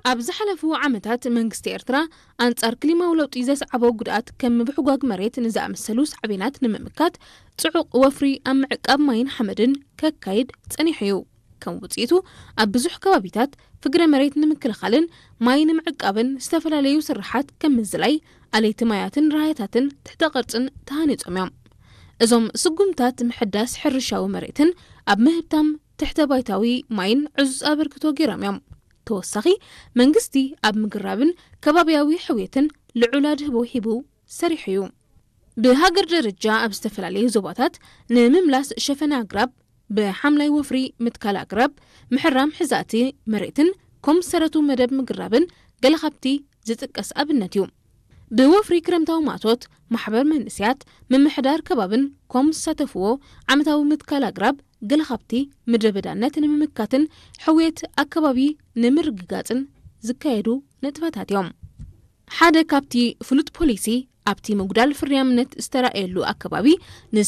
ኣብ ዝሓለፉ ዓመታት መንግስቲ ኤርትራ ኣንጻር ክሊማዊ ለውጢ ዘስዓቦ ጉድኣት ከም ምብሕጓግ መሬት ንዝኣመሰሉ ሳዕቤናት ንምምካት ጽዑቕ ወፍሪ ኣብ ምዕቃብ ማይን ሓመድን ከካይድ ጸኒሑ እዩ። ከም ውጽኢቱ ኣብ ብዙሕ ከባቢታት ፍግረ መሬት ንምክልኻልን ማይ ንምዕቃብን ዝተፈላለዩ ስርሓት ከም ምዝላይ ኣለይቲ ማያትን ራህያታትን ትሕተ ቅርጽን ተሃኒጾም እዮም። እዞም ስጉምታት ምሕዳስ ሕርሻዊ መሬትን ኣብ ምህብታም ትሕተ ባይታዊ ማይን ዕዙዝ ኣበርክቶ ገይሮም እዮም። ተወሳኺ መንግስቲ ኣብ ምግራብን ከባቢያዊ ሕውየትን ልዑል ኣድህቦ ሂቡ ሰሪሑ እዩ። ብሃገር ደረጃ ኣብ ዝተፈላለዩ ዞባታት ንምምላስ ሸፈነ ኣግራብ ብሓምላይ ወፍሪ ምትካል ኣግራብ ምሕራም ሕዛእቲ መሬትን ኮምስ ሰረቱ መደብ ምግራብን ገለ ካብቲ ዝጥቀስ ኣብነት እዩ። ብወፍሪ ክረምታዊ ማእቶት ማሕበር መንእሰያት ምምሕዳር ከባብን ኮምስ ዝሳተፍዎ ዓመታዊ ምትካል ኣግራብ ገለ ካብቲ ምድረ በዳነት ንምምካትን ሕውየት ኣከባቢ ንምርግጋጽን ዝካየዱ ንጥፈታት እዮም። ሓደ ካብቲ ፍሉጥ ፖሊሲ ኣብቲ ምጉዳል ፍርያምነት ዝተራእየሉ ኣከባቢ